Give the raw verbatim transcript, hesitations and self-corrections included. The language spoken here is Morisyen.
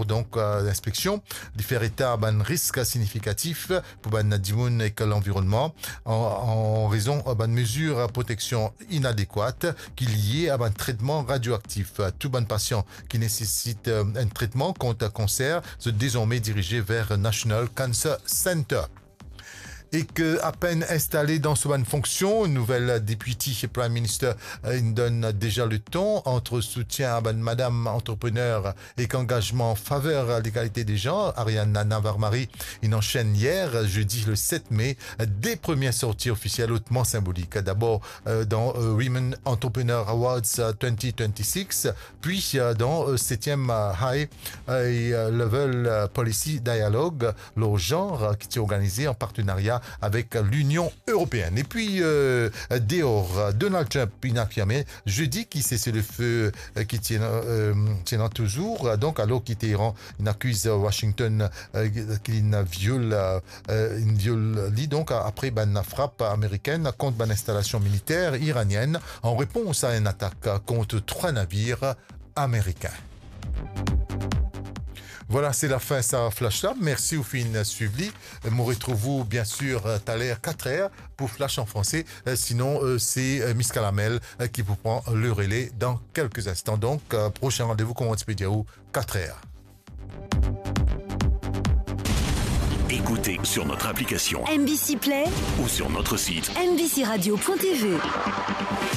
Donk, euh, linspeksion, li fer eta bann risk signifikatif pou bann dimoun ek lanvironnman an, an rezon, euh, bann mezir proteksion inadekwat ki lie a bann tretman radioaktif. Tou bann pasian ki nesesit, euh, enn tretman kont kanser, zot dezorme dirize ver National Cancer Center. Ek apenn instale dan so bann fonksion, nouvel Deputy Prime Minister, euh, inn donn deza leton ant soutien a bann madam antreprener ek angazman an faver legalite de zan. Ariane Navarmari inn ansenn yer, zedi le set me, de premie sorti ofisiel otman sinbolik. Dabor, euh, dan, euh, Women Entrepreneur Awards, euh, twenty twenty-six, pi, euh, dan, euh, setiem, euh, High, euh, Level, euh, Policy Dialogue lor zanr, euh, ki ti organize an partenaria avek Linion Eropeenn. Epi, euh, deor, euh, Donald Trump inn afirme zedi ki seselfe, euh, ki ti ena, euh, ti ena touzour, euh, donk alor ki Teheran inn akiz Washington, euh, ki inn viol, euh, euh, inn viol li, donk, a-, apre bann frap amerikenn kont bann instalasion militer iranienn an repons a enn atak kont trwa navir amerikin. Vwala, se lafin sa flash la. Mersi ou finn swiv li. Mo retrouv ou, bien sir, euh, taler kat er pou Flash an franse. Euh, sinon, euh, se, euh, Miss Kalamel, euh, ki pou pran le rele dan kelke instan. Donk, euh, prosin randevou, kouma ti pe dir ou, kat er. Écoutez sur notre application M B C Play ou sur notre site M B C radio point T V.